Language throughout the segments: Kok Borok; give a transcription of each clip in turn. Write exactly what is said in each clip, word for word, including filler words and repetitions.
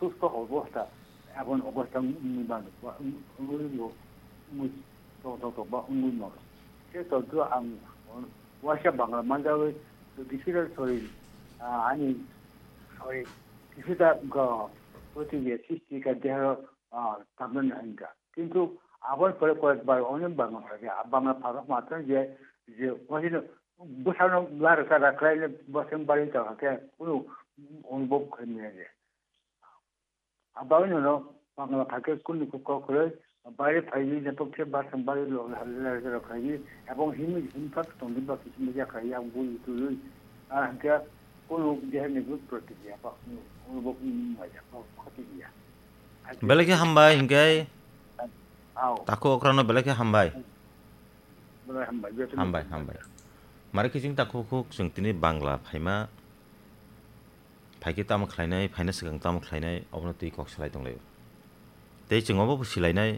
সুস্থ অবস্থা, এমন অবস্থা উনি মানুষ বা উনি, উনি, উনি তো, তো, তো, বা উনি মানুষ। সে তথ্য আমি ওয়াসা বাংলা মাঝে ওই তো কিছুটা শরীর, আহ, আমি শরীর কিছুটা গ-, প্রতিক্রিয়া সৃষ্টি করে দেহ, আহ, তাপমান হইকা। কিন্তু আবার পরে কয়েকবার অনেক বাংলা থাকে। আর বাংলা ভাষা মাত্র যে, যে ওখানে বসানো বার করা, বসেন বাড়ি থাকে, কোনো অনুভব হয় না যে। Abang nono Bangla phaikhe kunu kok kwrwi, baire phaidi, nepok khe basang baire lo, lo, lo, lo, phaidi, ebong himwi himphak tongdi ba kisim ya khlai, yang bui tului, ah, hingkhe kunu jehani bui protikriya ba, kunu, kunu bo kunu maya ba khoti ya. Belai khe hambai hingkhe. Ao. Takhuk okrano belai khe hambai. Belai hambai, jotono hambai, hambai. Hambai. Mare khe chwng takhuk khuk chwng tini Bangla phaima. Phaikhe tamo khlainai, phaina swkang tamo khlainai, obono twi kok salai tonglaio. Tei chwng obo bo silainai,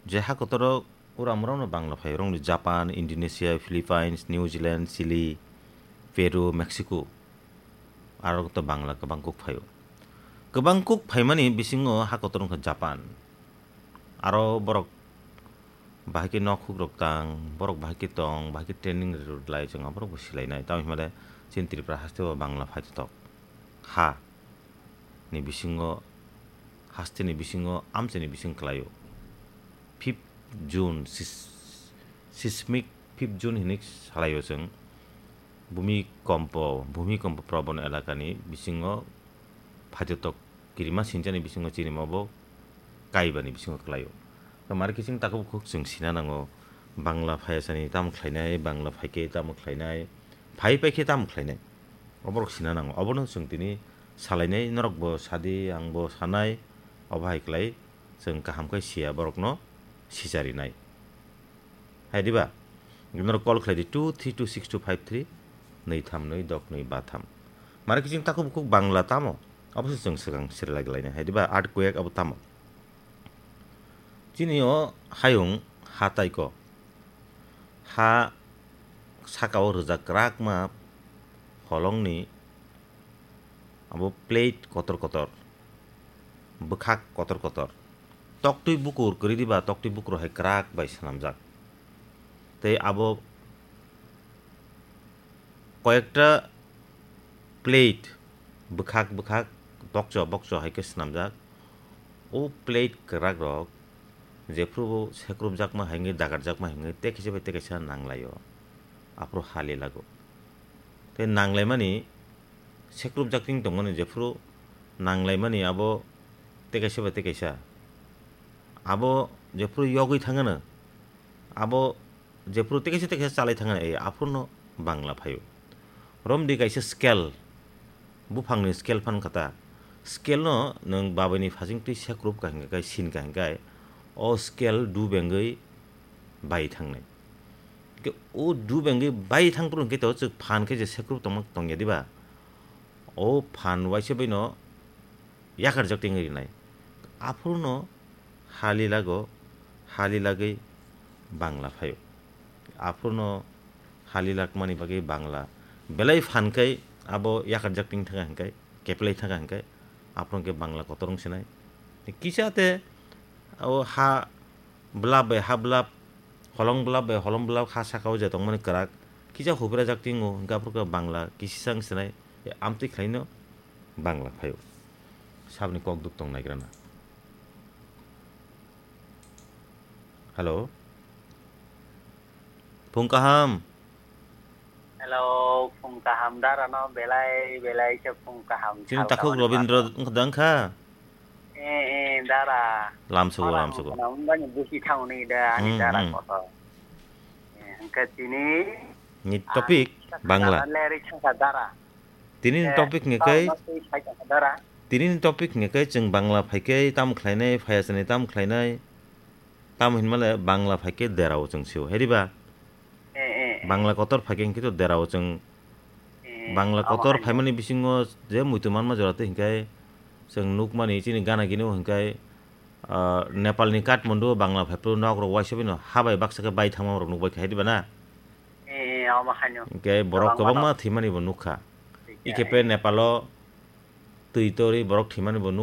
je ha kotoro ura mrokno Bangla phai, orokni Japan, Indonesia, Philippines, New Zealand, Chile, Peru, Mexico, aro to Bangla kwbang kuk phaio. Kwbang kuk phaimani bisingo ha kotor wngkha Japan. Aro borok bahai khe nok hukrok tang, borok bahai khe tong, bahai khe training rwlai chwng aborok bo silainai. Tamo hinmale chini Tripura haste o Bangla phaithotok ha ni bisingo, haste ni bisingo, amchai ni bising kwlaio. Fifth June, sis-, sismic fifth June hinwi salaio chwng. Bhumi kompo, bhumi kompo probon elakani bisingo phaithotok kirima sinchani bisingo chini obo kaibani bisingo kwlaio. Mare khe chwng takhuk bukhuk chwng sina nango, Bangla phayasani tamo khlainai, Bangla phaikhe tamo khlainai, phai paikhe tamo khlainai. Oborok sina nango. Obono chwng tini salainai, norokbo sadi, angbo sanai, obo hai kwlai chwng kaham khe siya borokno sicharinai. Hai diba? Norok call khlai di two three two six two five three, nwi tham nwi dok nwi ba tham. Mare khe chwng takhuk bukhuk Bangla tamo? Abo se chwng swkang siri lagi lainai. Hai diba? Earthquake abo tamo? Chini o hayung ha taiko. Ha saka o rwjak kwrakma holongni abo plate kotor kotor, bwkhak kotor kotor. Toktwi bukur kwrwi diba, toktwi bukur hai kwrak bai swnamjak. Tei abo koyekta plate bwkhak bwkhak, bokcho bokcho hai khe swnamjak. O plate kwrak rok jephru bo sekrupjakma hai wngwi dagarjakma hai wngwi tei kaisa bai tei kaisa nanglaio. Aphuru hali lago. Tei nanglaimani sekrupjak tong tongmani jephru nanglaimani abo tei kaisa bai tei kaisa. Abo jephru yogwi thangano, abo jephru tei kaisa tei kaisa chalai thangano, eh, aphurno Bangla phaio. Romdi kaisa scale, buphangni scale phan kha ta. Scale no nwng babaini phasing twi sekrup ka hingka khe, sin ka hingka khe, o scale dubengwi bai thangnai. Hingke o dubengwi bai thang phuru hingke to chwk phan khe je sekrup tongma tongya diba? O phan waisa baino yakarjak tengwi rinai. Aphuru no hali lago, hali lagwi Bangla phaio. Aphuru no hali lakmani bagwi Bangla belai phan khe abo yakarjak teng thangkha hingkhe, keplai thangkha hingkhe, aphuru hingkhe Bangla kotor wng sinai. Kisa te o ha Bwlap bai ha bwlap, holong bwlap bai holong bwlap ha saka o je tongmani kwrak, kisa huprajak tingo, hingke aphuru khe Bangla kisisa wng sinai, amtwi khlaino Bangla phaio. Saboni kok duk tong naigrana. Hello. Phung kaham. Hello, phung kaham dara no belai belai khe phung kaham. Chini sal takhuk kaham Robindra ba. Wngkha da wngkha? Eh, eh, dara. Lamsugo, lamsugo. Wngkha na wngkha ni busi thangni da ani, hmm, dara, hmm, kotor. Eh, wngkha tini ni topic ang Bangla. Leri thangkha dara. Tini ni, eh, topic ni kai, no twi sai thangkha dara. Tini ni topic ni kai chwng Bangla phai kai tam khlainai, phai asani tam khlainai. Tamo hinmale Bangla phaikhe derao chwng sio, heriba? Eh, eh, eh. Bangla kotor phaikhe hinkhe to derao chwng, eh, Bangla kotor phaimani bisingo je muitu manma jora tei hinkhe chwng nukmani chini gana gini o hinkhe, ah, Nepalni Kathmandu o Bangla phaiphru nok rok waisa bino habai baksa khe bai thangma rok nukbai kha, heriba na? Eh, eh, omo haino. Hinkhe borok kwbangma thwimani bo nukha. Ikhe pe Nepalo twi torwi borok thwimani bo nuk